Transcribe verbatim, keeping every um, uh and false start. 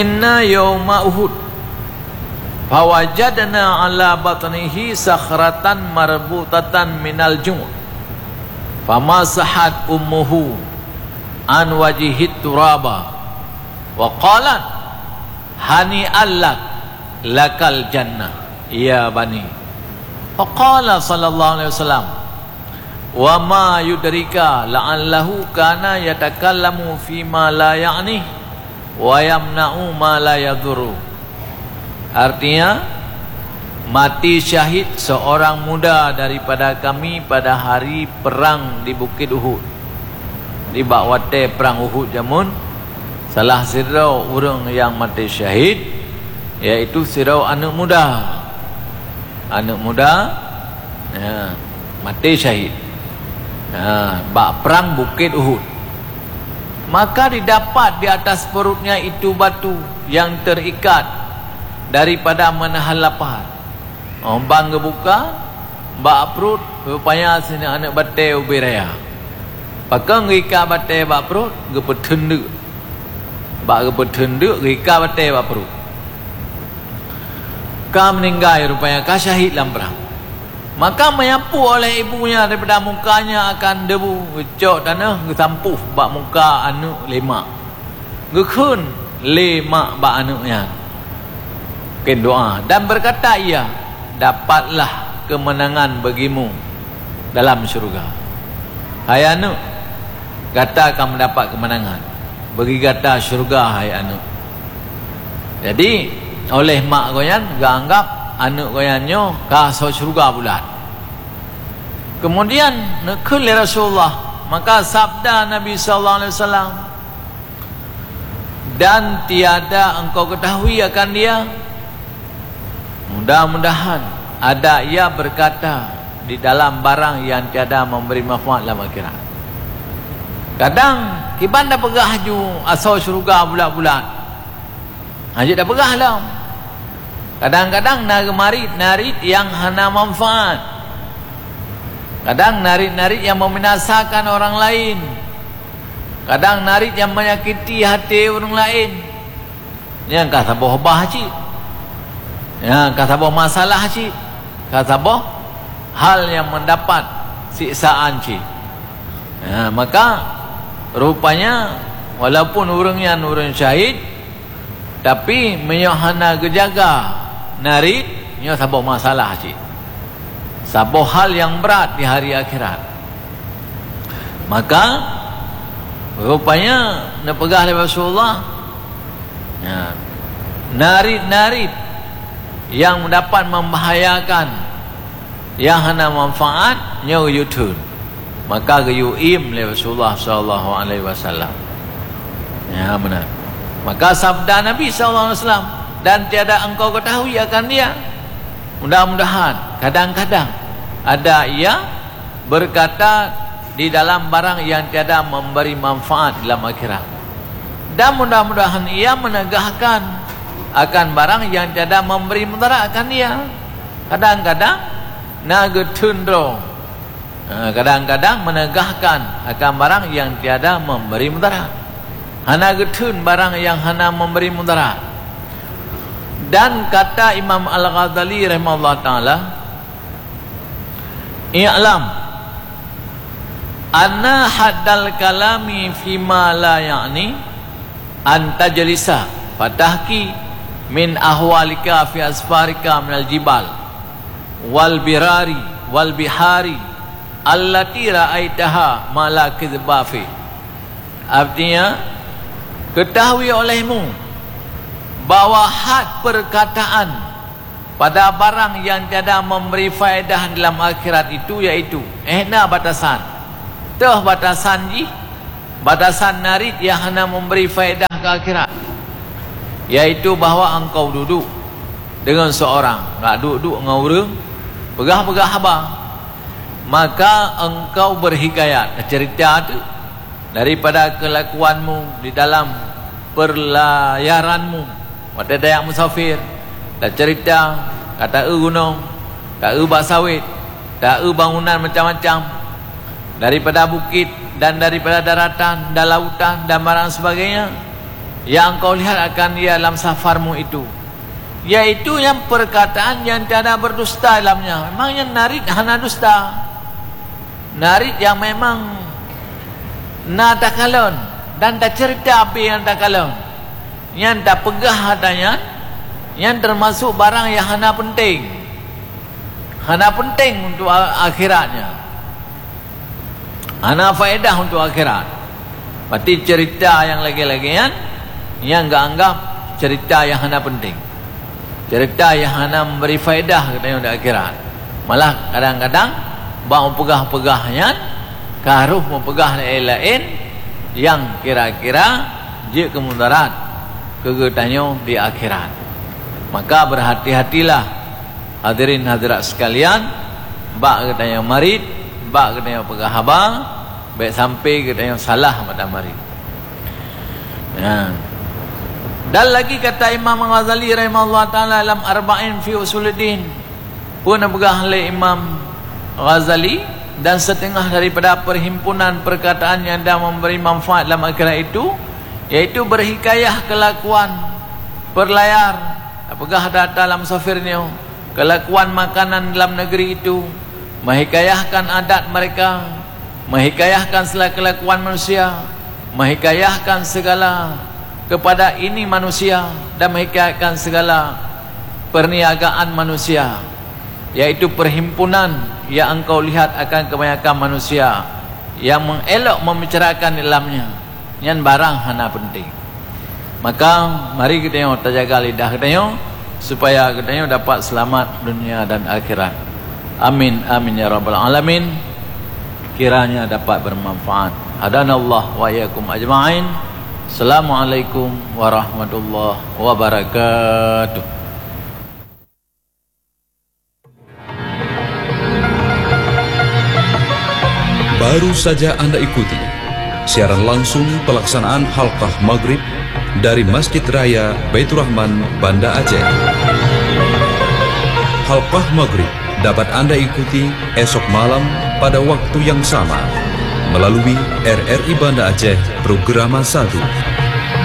Inna yauma Uhud, fawajadna ala batnihi sakhratan marbutatan minal ju', famasahat ummuhu an wajhihit turaba, wa qalat, "Hani'an lak, lakal jannah, ya bani." Faqala sallallahu alaihi wasallam, "Wa ma yudrika la'allahu kana yatakallamu fima la ya'ni, wa yamna'u ma la yadhurru." Artinya, mati syahid seorang muda daripada kami pada hari perang di Bukit Uhud. Di bak watée perang Uhud jameun, salah sidroe ureuëng nyang maté syahid, yaitu sidroe aneuëk muda. Aneuëk muda, ya, maté syahid, ya, bak perang Bukit Uhud. Maka didapat di atas perutnya itu batu yang terikat daripada menahan lapar. Oh, ban geubuka, bak pruet, rupanya singoh aneuëk batée ubé raya. Pakon geuika batée bak pruet, geupeuteun deuk. Bak geupeuteun deuk, geuika batée bak pruet. Ka meuninggai rupanya, ka syahid lam prang. Maka meuyapu oleh ibunya daripada mukanya akan debu, geucok tanoh, geusampôh bak muka aneuëk lé mak. Geukheun lé mak bak aneuëk nyan, kheun doá, dan berkata ia, "Dapatlah kemenangan bagimu dalam syurga. Hai aneuëk, gata ka meudapat keumeunangan. Bagi gata syurga, hai aneuëk." Jadi, oleh mak gobnyan geuanggab aneuëk gobnyan nyoe ka asoe syurga bulat. Kemudian neukheun lé Rasulullah, maka sabda Nabi sallallahu alaihi wasallam, "Dan tiada engkau ketahui akan dia, mudah-mudahan ada ia berkata di dalam barang yang tiada memberi manfaat lam akhirat." Kadang kiban tapeugah ju asoe syurga bulat-bulat, hana jeuet tapeugah lom. Kadang-kadang na geumarit narit nyang hana manfaat. Kadang narit-narit nyang membinasakan orang lain. Kadang narit nyang menyakiti hati ureuëng laén. Nyang ka saboh bah cit. Nyang ka saboh masalah cit. Ka saboh hal nyang mendapat siksaan cit. Ya, maka rupanya walaupun ureuëng nyan ureuëng syahid, tapi meunyoe hana geujaga narit, nyoe saboh masalah cit. Saboh hal nyang brat di hari akhirat. Maka, rupanya neupeugah lé Rasulullah, ya, narit-narit nyang dapat membahayakan, nyang hana manfaat, nyoe geuyue theun. Maka geuyue iem lé Rasulullah sallallahu alaihi wasallam. Ya, benar. Maka sabda Nabi sallallahu alaihi wasallam, "Dan tiada engkau ketahui akan dia. Mudah-mudahan, kadang-kadang ada ia berkata di dalam barang yang tiada memberi manfaat dalam akhirat. Dan mudah-mudahan ia menegahkan akan barang yang tiada memberi mudarat akan dia." Kadang-kadang na geutheun droe. Ha, kadang-kadang menegahkan akan barang yang tiada memberi mudarat. Hana geutheun barang yang hana memberi mudarat. Dan kata Imam Al-Ghazali rahimahullah taala, "I'lam anna haddal kalami fima la ya'ni an tajlisa fatahki min ahwalika fi asfarika minal jibal wal birari wal bihari allati ra'aitaha ma la kidhba fi." Artinya, ketahui olehmu bahwa had perkataan pada barang yang tiada memberi faedah dalam akhirat itu, yaitu, eh, na batasan. Toh batasan jih, batasan narit yang hana memberi faedah ke akhirat. Yaitu bahwa engkau duduk dengan seorang, nggak duduk dengan ureuëng, peugah-peugah haba. Maka engkau berhikayat, cerita tu, daripada kelakuanmu di dalam perlayaranmu. Watée tajak musafir, tacerita, ka taeu gunong, taeu bak sawét, taeu bangunan macam-macam, daripada bukit dan daripada daratan dan lautan dan barang sebagainya. Yang engkau lihat akan ia dalam safarmu itu, yaitu yang perkataan yang tiada berdusta dalamnya. Memang nyan narit hana dusta. Narit yang memang na takalon dan tacerita apa yang takalon. Nyan tapeugah ata nyan, nyan termasuk barang yang hana penting. Hana penting untuk a-, akhiratnya. Hana faedah untuk akhirat. Berarti cerita yang lagèe-lagèe nyan, nyan geuanggap cerita yang hana penting. Cerita yang hana memberi faedah geutanyoe di akhirat. Malah kadang-kadang bak peugah-peugah nyan, ka harôh meupeugah laén-laén nyang kira-kira jeuet keu mudarat keu geutanyoe di akhirat. Maka berhati-hatilah, hadirin hadirat sekalian, bak geutanyoe marit, bak geutanyoe peugah haba, bèk sampai geutanyoe salah mata marit. Ya. Dan lagi kata Imam Ghazali rahimahullah taala dalam Arba'in fi Usuluddin, pun peugah lé Imam Ghazali, dan setengah daripada perhimpunan perkataan yang dah memberi manfaat dalam akhirat itu, yaitu berhikayah kelakuan, berlayar, peugah data dalam safir nyoe, kelakuan makanan dalam negeri itu, menghikayahkan adat mereka, menghikayahkan segala kelakuan manusia, menghikayahkan segala kepada ini manusia, dan menghikayahkan segala perniagaan manusia, yaitu perhimpunan yang engkau lihat akan kebanyakan manusia yang mengelok membicarakan di dalamnya. Nyan barang hana penting. Maka, mari geutanyoe tajaga lidah geutanyoe, supaya geutanyoe dapat selamat dunia dan akhirat. Amin, amin ya rabbal alamin. Kiranya dapat bermanfaat. Hadanallah wa iyyakum ajma'in. Assalamualaikum warahmatullahi wabarakatuh. Baru saja Anda ikuti siaran langsung pelaksanaan Halqah Maghrib dari Masjid Raya Baiturrahman, Banda Aceh. Halqah Maghrib dapat Anda ikuti esok malam pada waktu yang sama melalui R R I Banda Aceh Programa satu.